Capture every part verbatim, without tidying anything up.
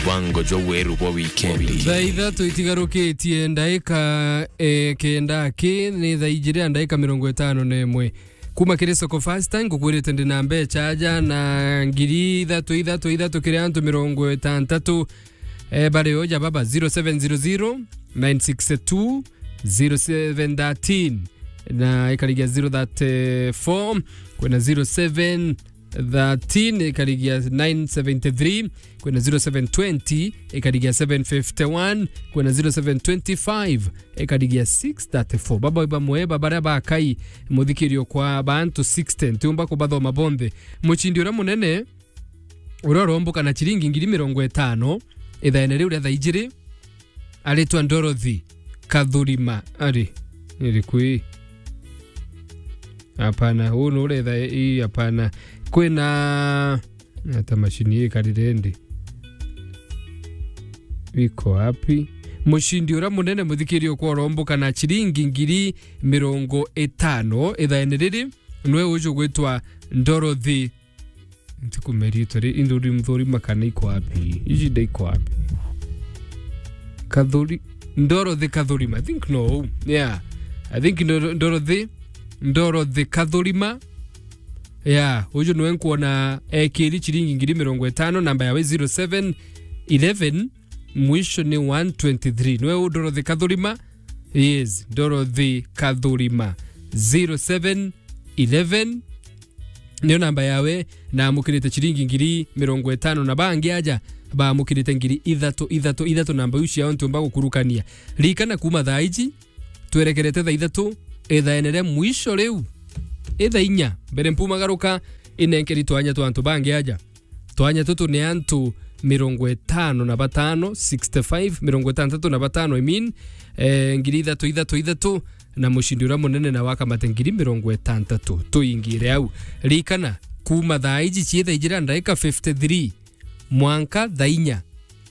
Mubango jwa weru bwa wikendi. Thaa ithatu itigarukitie ndaika, eh, kenda ki, ni thaa ijiri na ndaika mirongo itano na imwe. Kuma kiri Soko Fasta, ngukwirite ndi na mbecha aja na ngiri ithatu, ithatu, ithatu kiri antu mirongo itantatu. Eh, bari oja baba, zero seven zero zero, nine six two, zero seven thirteen, na ikarigia zero thirty-four, kwina zero seven thirteen, ikarigia nine seventy-three, kwina zero seven twenty, ikarigia seven fifty-one, kwina zero seven twenty-five, ikarigia six thirty-four. Baba bamwe ba baria bakai muthikirio kwa bantu sixty, ntiumba kubathoma bonthe. Mucindi uria munene, uria uromboka na ciringi ngiri mirongo itano, ithaene riu ria thaa ijiri, aritwa Dorothy Kathurima. Ari, iriku ii? Hapana, huu ni uretha ii, hapana. Kwina, ata macini ii karire ndi? Iko wapi? Mucindi uria munene, muthikirio, kwa uromboka na ciringi ngiri mirongo itano ithaene riri, nwe uju gwitwa Dorothy. Ntikumenya ritwa ri-, induri mthuri makana iko wapi? Iji nda iko wapi? Kathuri-, Dorothy Kathurima. I think no. Yeah. I think Doro-, Dorothy, Dorothy Kathurima. Yeah, uju nwe nkwona ekiri ciringi ngiri mirongo itano, namba yawe zero seven eleven, mwisho ni one twenty-three. Nwe u Dorothy Kathurima? Yes, Dorothy Kathurima. Zero seven eleven, niyo namba yawe, na amukirite ciringi ngiri mirongo itano, na bangi aja baamukirite ngiri ithatu, ithatu, ithatu, namba iu ciao ntiumba gukurukania. Ririkana, kuma thaa iji, twerekerete thaa ithatu, ithaene ria mwisho riu, ithaa inya mbere mpumagaruka, inenkeri twanya twa antu bangi aja. Twanya tutu ni antu mirongo itano na batano, sixty-five, mirongo itantatu na batano, I mean, eh, ngiri ithatu, ithatu, ithatu, na mucindi uria munene na wakamate ngiri mirongo itantatu. Tuingire au. Ririkana, kuma thaa iji cia thaa ijiri na ndaika fifty-three mwanka thaa inya,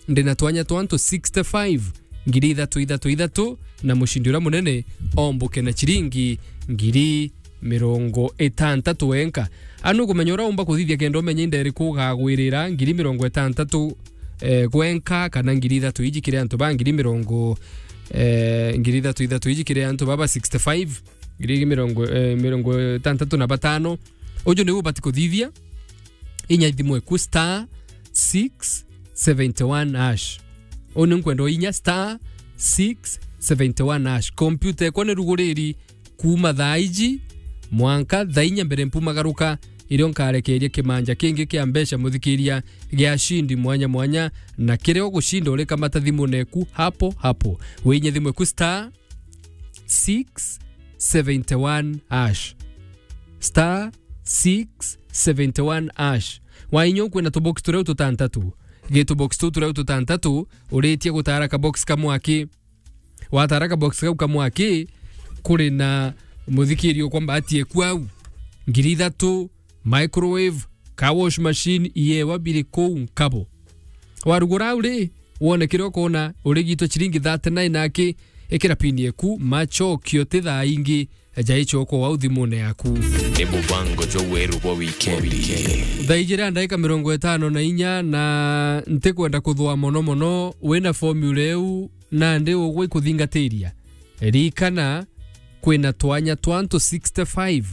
ndi na twanya twa antu sixty-five, ngiri ithatu, ithatu, ithatu, na mucindi uria munene omboke na ciringi ngiri mirongo itantatu wenka. Anu ukumenya uria umba kuthithia kenda umenye inda iriku ugagwirira, ngiri mirongo itantatu, eh, gwenka, kana ngiri ithatu iji kiri antu ba ngiri mirongo, eh, ngiri ithatu, ithatu iji kiri antu baba sixty-five, ngiri mirongo, eh, mirongo itantatu na batano. Uju niu ubati kuthithia. Inya thimu eku star six seventy one hash. Uu ni nkwenda uinya star six seventy one hash. Kompyuta ekwa ni ruguriri kuma thaa iji mwanka thaa inya mbere mpumagaruka, irio nkarekeria kimanja kingi kia mbeca muthikiria gia ashindi mwanya mwanya, na kiria ugucinda urikamata thimu neku hapo hapo. Winye thimu eku star six seventy one hash. Star six seventy one hash. Wainya ukwina tubox turia tutantatu. Gi tubox tu turia tutantatu, uritie gutara kabox kamwe aki. Watara kabox kau kamwe aki, kuri na muthikiri ukwa mbati eku au. Ngiri ithatu, microwave, car wash machine, iewa biri kuu nkabo. Warugura au ri, wone kiria ukona, urigitwe ciringi thirty nine aki, ikira pini eku, machokio ti thaa ingi, eja ichoko wau thimune yaku. Ni mubango jwa weru bwa wikendi. Thaa ijiri na ndaika mirongo itano na inya, na ntikwenda kuthua mono mono, wina formula iu, nandi ugwe ikuthingatiria. Ririkana, kwina twanya twa antu sixty-five.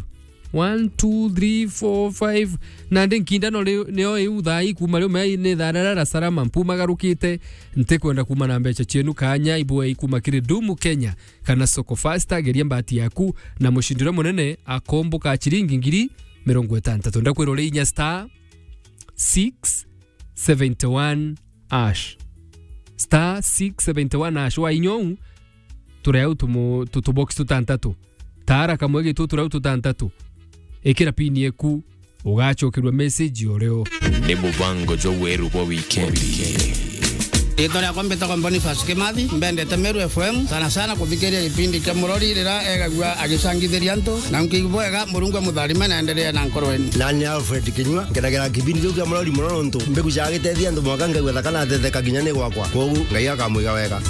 One, two, three, four, five. Nandi nkindano ri-, nio iu thaa ii kuma riu mea ni thaa rara salama mpumagarukite. Ntikwenda kuma na mbeca cienu kanya ibwe ikuma kiri Dumu Kenya kana Soko Fasta, geria mbati yaku na mucindi uria munene akomboka ciringi ngiri mirongo itantatu. Ndakwira uri inya star six seventy one hash. Star six seventy one hash. Wainya uu, tureau tumu-, tu-, tubox tutantatu. Tara kamwe gitu tureau tutantatu. Ikira pini eku, ugacokerua message oreo. Ni mubango jwa weru bwa wikendi. Ritwa riakwa mbitagwa Boniface Kimathi, mbendete Meru F M, sana sana kuthikiria gipindi kia Murori rira egagua agicangithiria antu, na nkiigua bwega, Murungu amutharime na endelee na nkoro yenu. Nani Alfred Kinyua, nkenagira kipindi kiu kia Murori mono nontu mbigucaga gitethia antu mwanka ngaigua thaka na thetheka kinya ni gwakwa. Kwogu Ngai akamwiga wega.